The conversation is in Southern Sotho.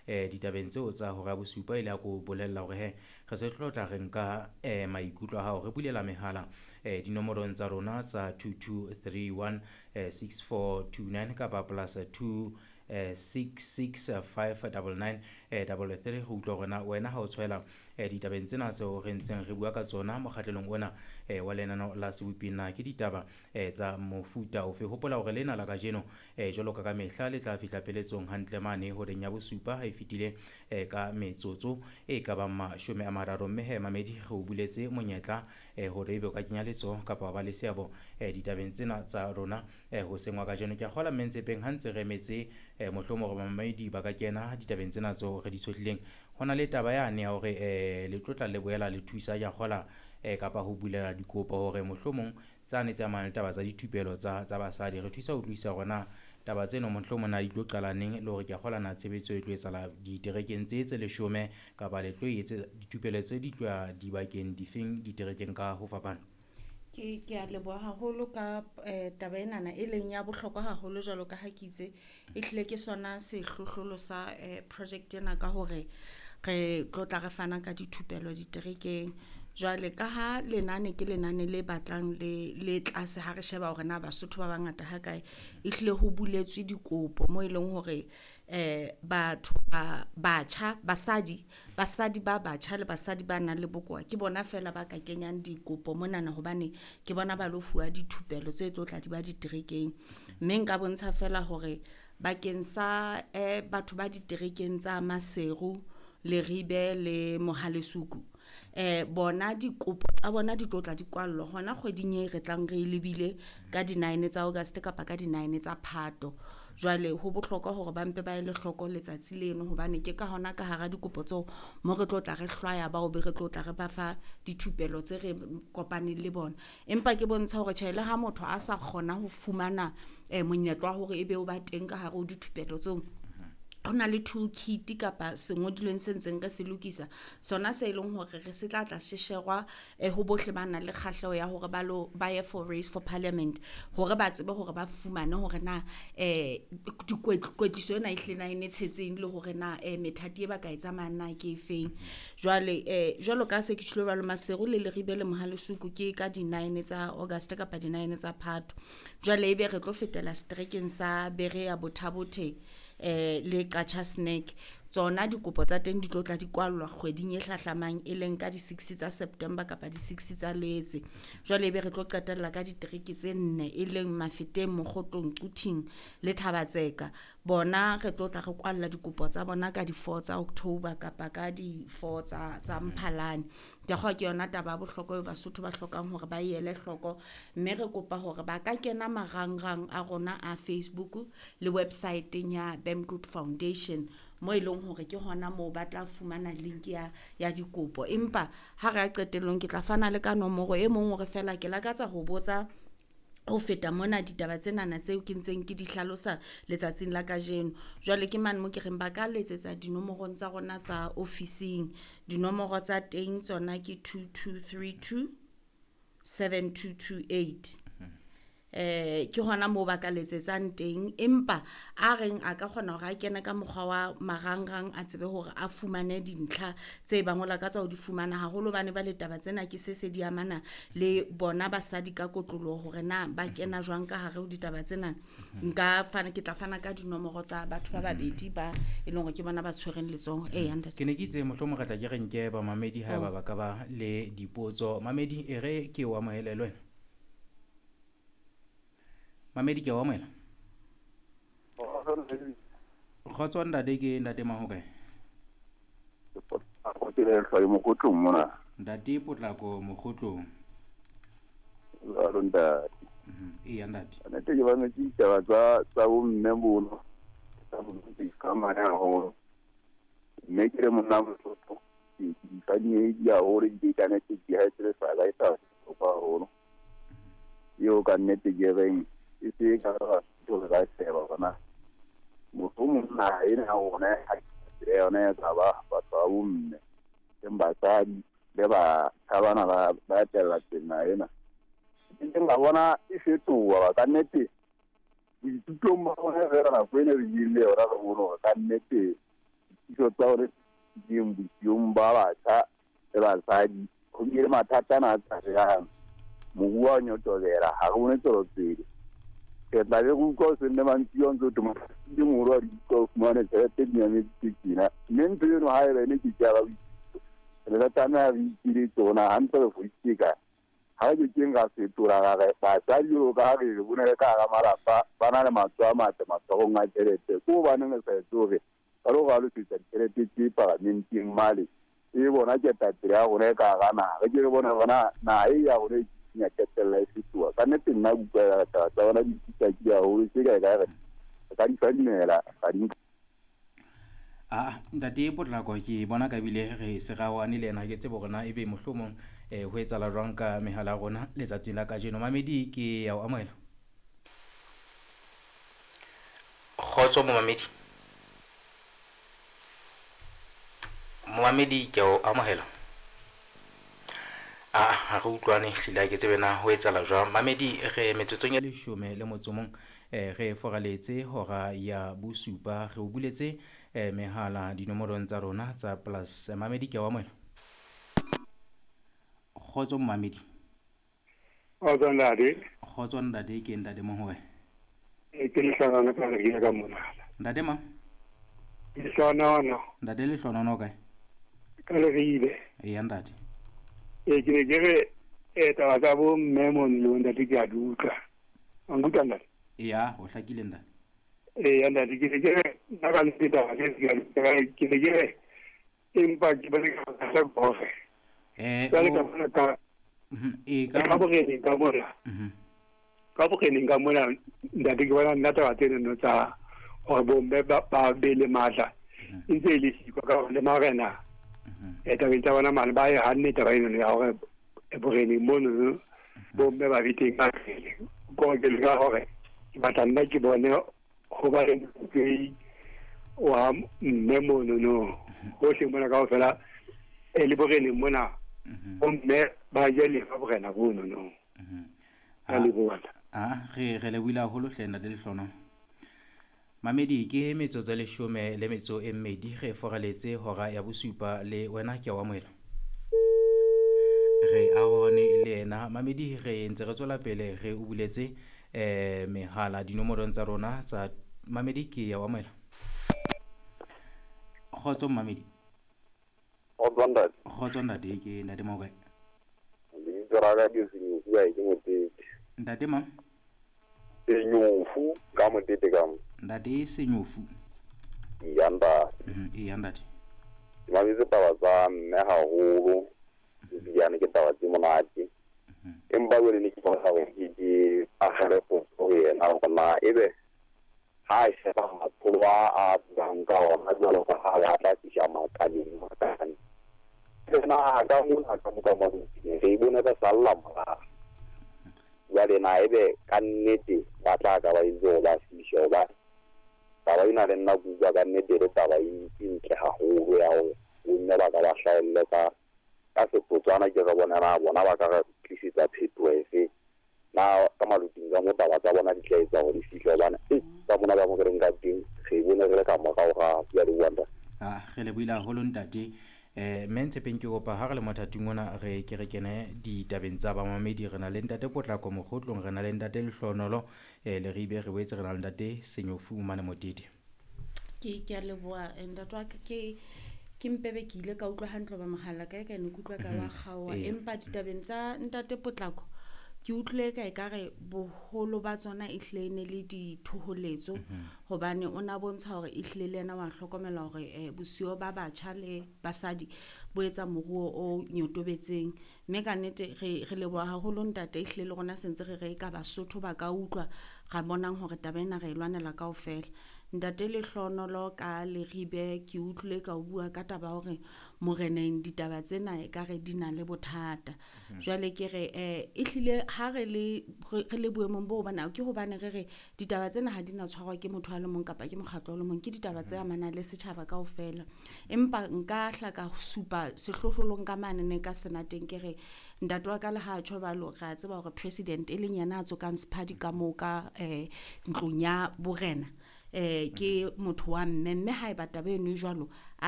Ditabeng tseo tsa hora ya bosupa, e le ya ko bolella hore he re se tlo tla re nka maikutlo a hao, re bulela mehala dinomorong tsa rona tsa 2231 6429 kapa plus 2 665 99 33, go utlwa hore na wena ha o tshwela ditabeng tsena tseo re ntseng re bua ka tsona mokgatlelong ona wa lenaneo la Sebopi, na ke ditaba tsa mofuta ofe. Hopola hore lena la kajeno, jwalo ka ka mehla, le tla fihla pheletsong hantle mane horeng ya bosupa ha e fetile ka metsotso e ka bang 30. Mme he mamedi, re o buletse monyetla hore ebe o ka kenya letsoho kapa wa ba le seabo ditabeng tsena tsa rona hoseng wa kajeno. Ke a kgola mme Ntsepeng, ha ntse re emetse mohlomong hore bamamedi ba ka kena ditabeng tsena tseo re di tshohlileng, ho na le taba yane ya hore le tlo tla le boela le thusa, ke a kgola, kapa ho bulela dikopo hore mohlomong tsane tse amanang le taba tsa dithupelo tsa basadi. Re thusa ho utlwisisa hore na taba tseno mohlomong na di tlo qala neng, le hore ke a kgola na tshebetso e tlo etsahala diterekeng tse tse 10 kapa le tlo etse dithupelo tse di tlo ya dibakeng difeng diterekeng ka ho fapana. Ke a leboha haholo ka taba enana e leng ya bohlokwa haholo, jwalo ka ha ke itse e hlile ke sona sehlohlolo sa project ena, ka hore re tlo tla re fana ka dithupelo diterekeng. Jwale ka ha lenane ke lenane le batlang le tlase, ha re sheba hore na Basotho ba bangata ha kae, e hlile ho buletswe dikopo mo e leng hore batho ba batjha, basadi ba batjha le basadi ba nang le bokowa ke bona fela ba ka kenyang dikopo monana, hobane ke bona ba lo fuwa dithupelo tse tlo tla di ba diterekeng. Mme nka bontsha fela hore bakeng sa batho ba diterekeng tsa Maseru, Leribe le Mohalesuku, bona dikopo tsa bona di tlo tla di kwallwa hona kgweding e re tlang re lebile ka di-9 tsa August kapa ka di-9 tsa Phato. Jwale ho bohlokwa hore ba mpe ba ele hloko letsatsi leno, hobane ke ka hona ka hara dikopo tseo mo re tlo tla re hlwaya bao be re tlo tla re ba fa dithupelo tse re kopaneng le bona. Empa ke bontsha hore tjhe, le ha motho a sa kgona ho fumana monyetla wa hore ebe o ba teng ka hare ho dithupelo tseo, ho na le toolkit kapa sengodilweng se ntseng re se lokisa, sona se leng hore re se tla tla shesherwa ho bohle ba nang le kgahleho ya hore ba lo ba ye for race for parliament, hore ba tsebe hore ba fumane hore na kwetliso ena e hlile na e ne tshetseng, le hore na methati e ba ka e tsamayang na ke efeng. Jwale jwalo ka se ke tjholo jwalo, Maseru le Leribe le Mohalesuku ke ka di-9 tsa August kapa di-9 tsa Phato. Jwale ebe re tlo fetela seterekeng sa Berea, Botha-Bothe le Qacha's Nek. Tsona dikopo tsa teng di tlo tla di kwallwa kgweding e hlahlamang, e leng ka di-6 tsa September kapa di-6 tsa Loetse. Jwale ebe re tlo qetella ka ditereke tse nne, e leng Mafeteng, Mokgotlong, Quthing le Thabatseka. Bona re tlo tla re kwalla dikopo tsa bona ka di-4 tsa October kapa ka di-4 tsa Mphalane. Ke kgolwa ke yona taba ya bohlokwa eo Basotho ba hlokang hore ba e ele hloko, mme re kopa hore ba ka kena marangrang a rona a Facebook le website-eng ya BAM Group Foundation, mo e leng hore ke hona moo ba tla fumana link ya dikopo. Empa ha re ya qetellong, ke tla fana le ka nomoro e mong hore fela ke lakatsa ho botsa ho feta mona ditaba tsenana tseo ke ntseng ke di hlalosa letsatsing la kajeno. Jwale ke mane mo ke reng ba ka letsetsa dinomorong tsa rona tsa ofising. Dinomoro tsa teng tsona ke 2232 7228. Ke hona moo ba ka letsetsang teng, empa a reng a ka kgona hore a kene ka mokgwa wa marangrang, a tsebe hore a fumane dintlha tse bang o lakatsa ho di fumana haholo, hobane ba le taba tsena ke se se di amana le bona basadi ka kotloloho, hore na ba kena jwang ka hare ho ditaba tsena. Nka fana, ke tla fana ka dinomoro tsa batho ba babedi ba e leng hore ke bona ba tshwereng letsoho. Eya ntate. Ke ne ke itse mohlomong re tla ke re nke bamamedi haeba ba ka ba le dipotso. Mamedi, e re ke o amohele le wena. Mamedi, ke o amohela. Kgotso ntate, ke ntate Mahokae? Ke le hlwaye Mokgotlong mona. Ntate Potlako Mokgotlong. Jwalo ntate. Eya ntate. Nnete ke ba metse ditaba tsa bomme bono. Tsa bomme ka mane haholo. Mme ke le monna Mosotho. Ke di fadimehile haholo, di ka nnete di ha e sa la e sa bohlokwa haholo. Eo ka nnete ke reng e se ka ra tlo re sheba hore na mohlomong naha ena ya rona ha ke yona ya tsa ba batho ba bomme, teng basadi le batjha bana ba etella pele naha ena. Ke neng ka bona e fetoha ka nnete boithutong ba rona fela nako ena re ile yona re bone hore ka nnete Ditshitiso tsa hore ding bosiung ba batjha le basadi ho bile le mathata ana a tshabehang. Moruo wa nyotobela ha re bone tswelopele. Re tla be re utlwa ho seng le mantsibuya o ntso thwe motho e moholo wa di utlwa o fumane tjhelete di nyametse tjena. Mme ntho eno haeba e ne ke ke ya ba boitsebiso, re ne re tlameha re ipiletse hore na hantle re fositse kae. Ha re ke keng ra fetola ra re basadi jwalo ka ha re re bone le ka hara malapa ba na le matsoho a matle matshwarong a tjhelete. Ke hobaneng re sa etse hore ba lo ralosetsa ditjhelete tse paramenteng male e bona ketapele ya rona e ka hara naha. Re ke re bone hore na naha e ya rona e ya qetella e fetoha. Ka nnete nna ke utlwa taba tsa bona di tsitlakile haholo tje ka ekare re ka di fadimela ra di nka. Ah, ntate Potlako ke bona ka bile re se raoane le yena, ke tsebe hore na ebe mohlomong ho etsahala jwang ka mehala ya rona letsatsing la kajeno. Mamedi ke ya o amohela. Kgotso momamedi. Momamedi ke o amohela. Ah, ha re utlwane hlile ha ke tsebe na ho etsahala jwang. Mamedi re metsotsong e leshome le motso mong re foraletse hora ya bosupa, re o buletse mehala dinomorong tsa rona tsa plus. Mamedi ke o amohela. Kgotso momamedi. Kgotso ntate. Kgotso ntate, ke ntate Mohoe. Ke Lehlonono ka re ka mona. Ntate mang? Lehlonono. Ntate Lehlonono kae? Ka Leribe. Eya ntate. Ke ne ke re taba tsa bo mme mono le bontate ke a di utlwa. Wa nkutlwa ntate? Eya, ho hlakile ntate. Eya ntate, ke ne ke re nna ka nnete taba tse ke a di utlwa, ke ne ke re empa ke bone ka bothata ke hore jwale ka bona ka ka boreneng ka mona. Ka boreneng ka mona ntate ke bona nna taba tsenono tsa hore bomme ba be le matla e ntse e le siko ka hore le marena tabeng tsa bona mane ba e hanne taba enono ya hore boreneng monono bomme ba be teng ka pele. Ko ke leka hore ke batla nna ke bone ho ba le motsehi wa mme monono hohle mona kaofela le boreneng mona bomme ba je lefa borena bonono. Ka leboha. Re lebohile haholo hle ntate Lehlonono. Mamedi ke metsotso e leshome le metso e mmedi re foraletse hora ya bosupa le wena ke a o amohela. Re arohane le yena. Mamedi re ntse re tswela pele re o buletse mehala dinomorong tsa rona tsa mamedi ke ya o amohela. Kgotso mamedi. Kgotso ntate. Kgotso ntate, ke ntate Mokae. Lebitso la ka ke Senyofu, ke Motete. Ntate mang? Senyofu ka Motete ka mo. Ntate Senyofu. Eya ntate. Eya ntate. Ke mametse taba tsa mme haholo, ebilane ke taba tse monate. Empa jwale ne ke batla hore ke akgele potso ho yena hore na ebe ha a sheba matsholo a buang ka ona jwalo ka ha a tla fihla makaleng makane. Tsena ka mona ka moka motseng re bone ba salla morao. Jwale na ebe ka nnete ba tla ka ba itse hore ba fihle hobane taba ena le nna ke utlwa ka nnete le taba e ntle haholo ya hore bomme ba ka ba hlahelle ka setotswana ke re bona na bona ba ka re tlisetsa phetoho efe na ka maluting ka mo taba tsa bona di tla etsa hore di fihle hobane ka mona ba mo re reng ka teng re bone re le ka morao ga ya leboha ntate. Re lebohile haholo ntate. Mme Ntshepeng ke kopa ha re le mothating ona re ke re kene ditabeng tsa bamamedi. Re na le ntate Potlako Mokgotlong, re na le ntate Lehlonono Leribe, re boetse re na le ntate Senyofu mane Motete. Ke a leboha ntate wa ka, ke mpebe ke ile ka utlwa hantle ba mohala kae kae ne ke utlwa ka wa kgaoha, empa ditabeng tsa ntate Potlako ke utlwile ka ekare boholo ba tsona e hlile ne le dithoholetso hobane o na bontsha hore e hlile le yena wa hlokomela hore bosiyo ba batjha le basadi bo etsa moruo o nyotobetseng. Mme ka nnete re leboha haholo ntate, e hlile le rona sentse re re ka Basotho ba ka utlwa ra bonang hore taba ena re e lwanela kaofela. Ntate Lehlonono ka Leribe ke utlwile ka o bua ka taba hore moreneng ditaba tsena ekare di na le bothata. Jwale ke re e hlile ha re le boemong bo hobane ke hobane re re ditaba tsena ha di na tshwarwa ke motho a le mong kapa ke mokgatlo o le mong, ke ditaba tse amanang le setjhaba kaofela. Empa nka hla ka supa sehlohlolong ka mane ne ka senateng ke re ntate wa ka le ha tjho jwalo, re a tseba hore president e leng yena a tsokang sephadi ka moo ka ntlong ya borena Ke motho wa mme, mme haeba taba eno e jwalo, a